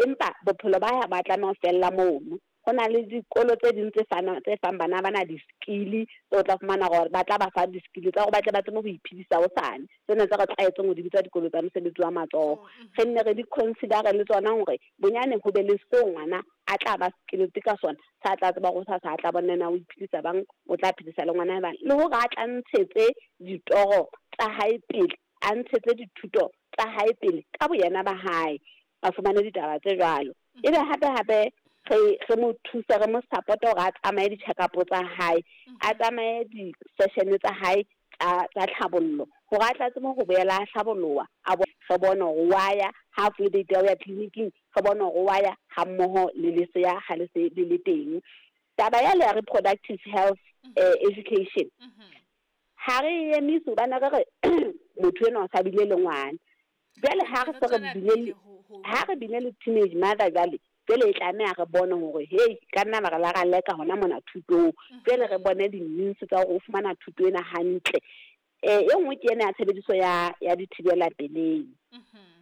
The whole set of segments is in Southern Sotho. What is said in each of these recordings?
Empa bophelo ba hae ha ba tlameha ho fella mono. Ho na le dikolo tse ding tse fana tse fang bana bana di-skill tseo o tla fumana hore ba tla ba fa di-skill tsa hore ba tle ba tsebe ho iphedisa hosane. Tsena tse re tlwaetseng ho di bitsa dikolo tsa mosebetsi wa matsoho. Re nne re di consider-e le tsona hore bonyane ho be le seo ngwana a tla ba skilled ka sona, sa tla tseba hore hosasa a tla bona na o iphedisa bang, o tla phedisa le ngwana bang. Le hore a tla ntshetse ditoro tsa hae pele, a ntshetse dithuto tsa hae pele ka boyena ba hae, a fumane ditaba tse jwalo. Ebe hape hape re re mo thuse, re mo support hore a tsamaye di-check-up tsa hae, a tsamaye di-session tsa hae tsa tsa tlhabollo hore a tla tsebe ho boela a hlaboloha, a re bone hore wa ya ha a fuwe date ya ho ya clinic-ing, re bone hore wa ya ha mmoho le lesea ha le se le le teng. Taba ya le ya reproductive health education ha re e emise hobane re re motho enwa o sa bile le ngwana. Jwale ha re Re se re tswela bile pele le ho ho ha re bile le teenage mother jwale, jwale e tlameha re bone hore hei ka nna ba re la ra leka hona mona thutong. Jwale re bone di-means tsa hore o fumana thuto ena hantle. E nngwe ke ena ya tshebediso ya ya dithibela pelehi.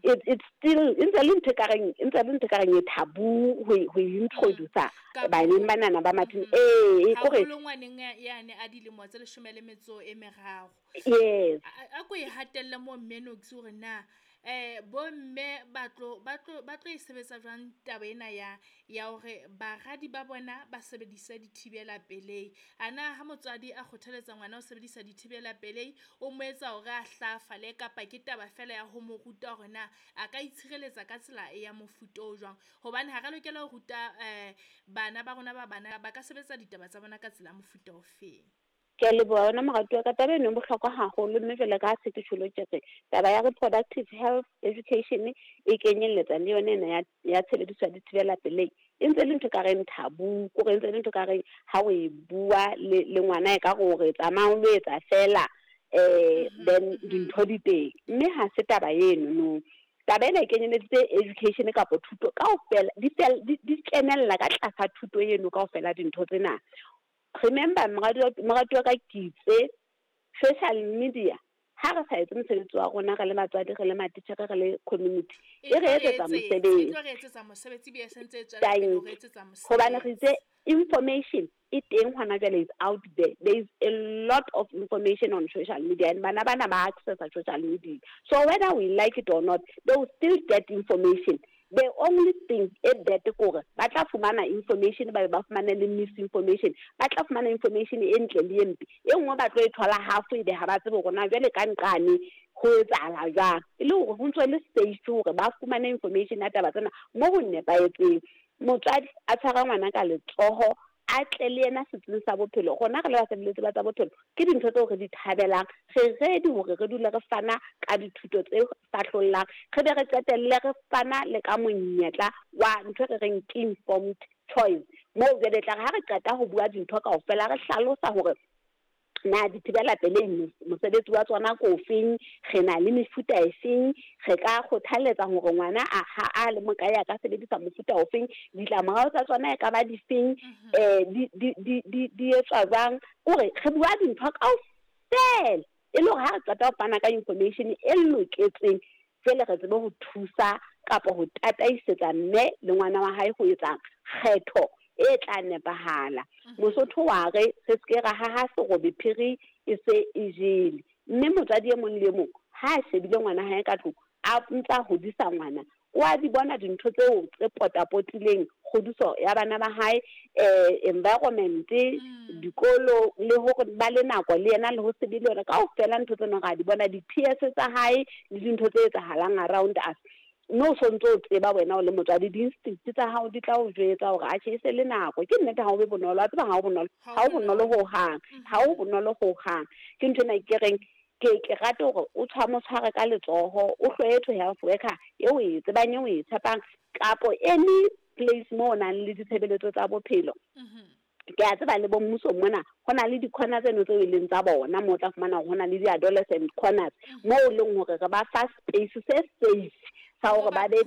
It's still e ntse le ntho e kareng e ntse le ntho e kareng e taboo ho e introduce baneng banana ba mathini. Ee, kore Haholo ngwaneng yane a dilemo tse 13. Yes. A ko e hatelle mo mme Noksi hore na bo mme ba tlo ba tlo ba tlo e sebetsa jwang taba ena ya ya hore baradi ba bona ba sebedise dithibela pelehi. Ana ha motswadi a kgothaletsa ngwana ho sebedisa dithibela pelehi, o mo etsa hore a hlahafale kapa ke taba fela ya ho mo ruta hore na a ka itshireletsa ka tsela ya mofuta o jwang. Hobane ha re lokela ho ruta bana ba rona ba bana ba ka sebetsa ditaba tsa bona ka tsela ya mofuta o feng. Ke a leboha wena moratuwa ka taba eno e bohlokwa haholo, mme jwale ka ha se ke tjholo ke re taba ya reproductive health education e kenyelletsa le yona ena ya ya tshebediso ya dithibela pelehi. E ntse le ntho e kareng taboo, kore e ntse le ntho e kareng ha o e bua le le ngwana e ka re o re tsamaya o lo etsa fela, then dintho di teng. Mme ha se taba eno no. Taba ena e kenyeleditse education kapa thuto kaofela, di di kenella ka tlasa thuto eno kaofela dintho tsena. Remember moratuwa ka ke itse social media ha re sa etse mosebetsi wa rona re le batswadi, re le matitjhere, re le community, E e tlo re re etsetsa etsetsa, e mosebetsi. tlo re etsetsa mosebetsi ebile e sentse e tswela pele ho re Tanki. etsetsa Hobane re itse mosebetsi. information e teng hona jwale is out there. There is a lot of information on social media and bana bana ba accessa social media. So whether we like it or not, they will still get information. The only thing e bad ke hore ba tla fumana information, ba be ba fumane le misinformation. Ba tla fumana information e ntle le e mpe. E nngwe ba tlo e thola half ebe ha ba tsebe hore na jwale ka nqane ho etsahala jwang. E le hore ho ntso le safe hore ba fumane information ya taba tsena mo ho nepahetseng. Motswadi a tshwara ngwana ka letsoho, a tle le yena setsing sa bophelo. Rona re le basebeletsi ba tsa bophelo ke dintho tseo re di thabelang. Re ready hore re dule re fana ka dithuto tse fahlollang, re be re qetelle re fana le ka monyetla wa ntho e re reng ke informed choice. Moo jwale e tla re ha re qeta ho bua dintho kaofela, re hlalosa hore na dithibela pelehi mosebetsi wa tsona ke ofeng, re na le mefuta e feng, re ka kgothaletsa hore ngwana a ha a le mokae a ka sebedisa mofuta ofeng, ditlamorao tsa tsona e ka ba difeng, di di di di di etswa jwang. Kore re bua dintho kaofela e le hore ha re qeta ho fana ka information e loketseng, jwale re tsebe ho thusa kapa ho tataisetsa mme le ngwana wa hae ho etsa kgetho e tla nepahala. Mosotho wa re re ske ra haha serobe phiri e se e jele. Mme motswadi e mong le e mong ha a shebile ngwana hae ka tlung, a ntsa hodisa ngwana, o a di bona dintho tseo tse potapotileng kgodiso ya bana ba hae, environment, dikolo, le hore ba le nako le yena le ho se be le yona. Kaofela ntho tseno ra di bona, di-peers tsa hae le dintho tse etsahalang around us. Mme o sontso o tseba wena o le motswadi, di-instinct tsa hao di tla o jwetsa hore atjhe e se le nako. Ke nnete ha o be bonolo, wa tseba ha o bonolo, ha o bonolo hohang, ha o bonolo hohang. Ke ntho ena ke reng ke ke rate hore o mo tshware ka letsoho, o hloye to health worker eo o e tsebang, eo o e tshepang, kapo any place mo o nang le ditshebeletso tsa bophelo. Ke a tseba le bo mmusong mona ho na le di-corner tseno tseo e leng tsa bona, moo o tla fumana hore ho na le di-adolescent corners, moo e leng hore re ba fa space se safe sa hore ba be